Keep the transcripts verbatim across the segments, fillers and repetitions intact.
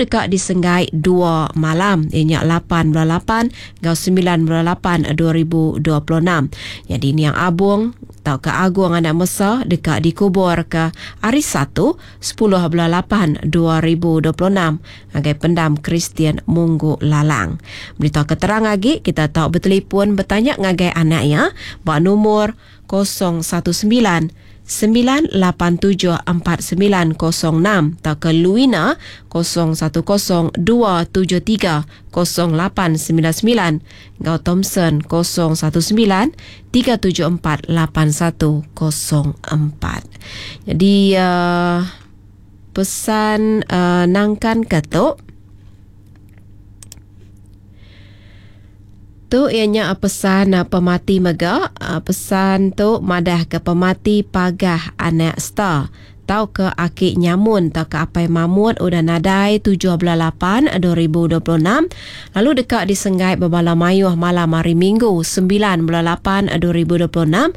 Lalu deka disenggai dua malam ianya lapan bulan lapan enggau sembilan bulan lapan dua ribu dua puluh enam. Jadi niang Abung tau ke Agung anak Mesa deka dikubur ke hari Satu sepuluh bulan lapan dua ribu dua puluh enam ngagai pendam Kristian Munggu Lalang. Berita keterang lagi kita tau bertelefon bertanya ngagai anak ya ba nomor kosong satu sembilan sembilan lapan tujuh empat sembilan kosong enam atau ke Luina kosong satu kosong dua tujuh tiga kosong lapan sembilan sembilan ngau Thompson kosong satu sembilan tiga tujuh empat lapan satu kosong empat. Jadi, uh, pesan, uh, nangkan ketuk tu ianya pesan pemati mega. Pesan tu madah ke pemati pagah anak star tau ke aki nyamun tau ke apai mamut udah nadai tujuh bulan lapan dua ribu dua puluh enam lalu deka disenggai berbala mayuh malam hari Minggu sembilan bulan lapan dua ribu dua puluh enam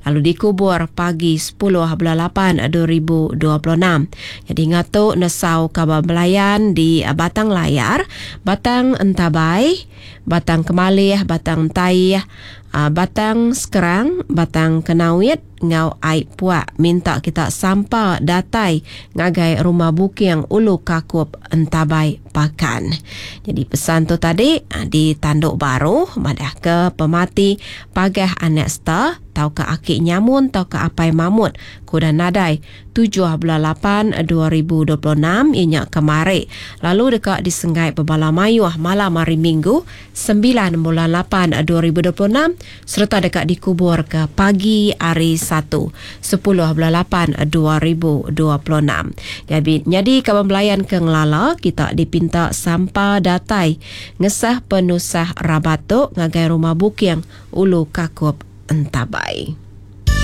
lalu dikubur pagi sepuluh bulan lapan dua ribu dua puluh enam. Jadi ngatu nesau kabar belayan di Batang Layar, Batang Entabai, Batang Kemalih, Batang Entaih, Batang Sekerang, Batang Kenawit ngau Aik Puak minta kita sampa datai ngagai rumah Buking Ulu Kakup Entabai Pakan. Jadi pesan tu tadi di tanduk baru madah ke pemati pagah anak star tau ke aki nyamun tau ke apai mamut kuda nadai tujuh bulan lapan dua ribu dua puluh enam ianya kemari lalu deka disenggai bebala mayuh malam hari Minggu sembilan bulan lapan dua ribu dua puluh enam serta deka dikubur ke pagi hari Satu sepuluh bulan lapan dua ribu dua puluh enam. Jadi, jadi kawan belayan ke ngelala kita dipinta sampa datai ngesah penusah rabat tu ngagai rumah Buking Ulu Kakup Entabai.